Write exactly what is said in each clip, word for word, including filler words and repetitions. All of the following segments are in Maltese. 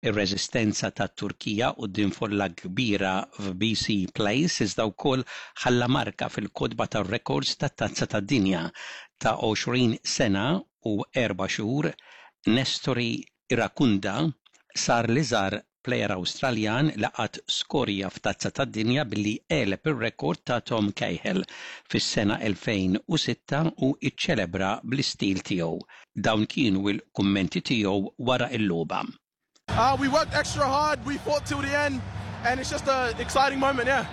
Ir-reżistenza tat-Turkija quddiem folla kbira f'B C Place, iżda wkoll ħalla marka fil-kotba tar-rekords tat-Tazza tad-Dinja. Ta' għoxrin sena u erba' xhur, Nestory Irankunda sar l-iżgħar plejer Awstraljan li qatt skorja f'Tazza tad-Dinja billi għeleb ir-rekord ta' Tom Cahill fis-sena elfejn u sitta u iċċelebra bl-istil tiegħu. Dawn kienu il-kummenti tiegħu wara l-logħba. Uh, we worked extra hard, we fought till the end, and it's just an exciting moment, yeah.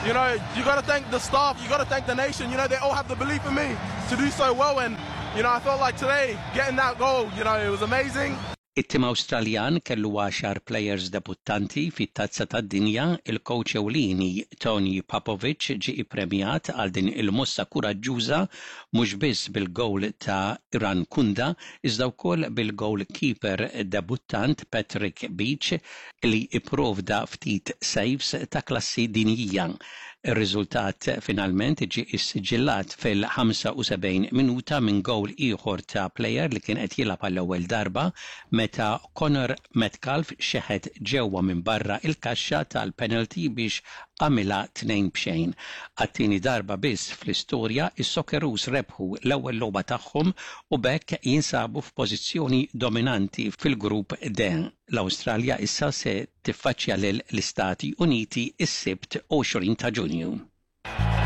You know, you got to thank the staff, you got to thank the nation. You know, they all have the belief in me to do so well, and you know, I felt like today, getting that goal, you know, it was amazing. It-tim Awstraljan kellu għaxar players debuttanti fit-Tazza tad-Dinja. Il-coach ewlieni Tony Popovic ġie ippremjat għal din il-mossa kuraġġuża, mhux biss bil-gowl ta' Irankunda iżda wkoll bil-goalkeeper debuttant Patrick Beach, li ipprovda ftit saves ta' klassi dinjija. Ir-riżultat finalment ġie issiġillat fil-ħamsa u sebgħin minuta minn gowl ieħor ta' player li kien qed jilgħab għall-ewwel darba, meta Connor Metcalf xeħet ġewwa minn barra il-kaxxa tal-penalty biex għamilha tnejn b'xejn. Għat-tieni darba biss fl-istorja, is-Socceroos rebħu l-ewwel logħba tagħhom u b'hekk jinsabu f'pożizzjoni dominanti fil-grupp D. L-Awstralja issa se tiffaċċja lil l-Istati Uniti is-Sibt għoxrin ta' Ġunju.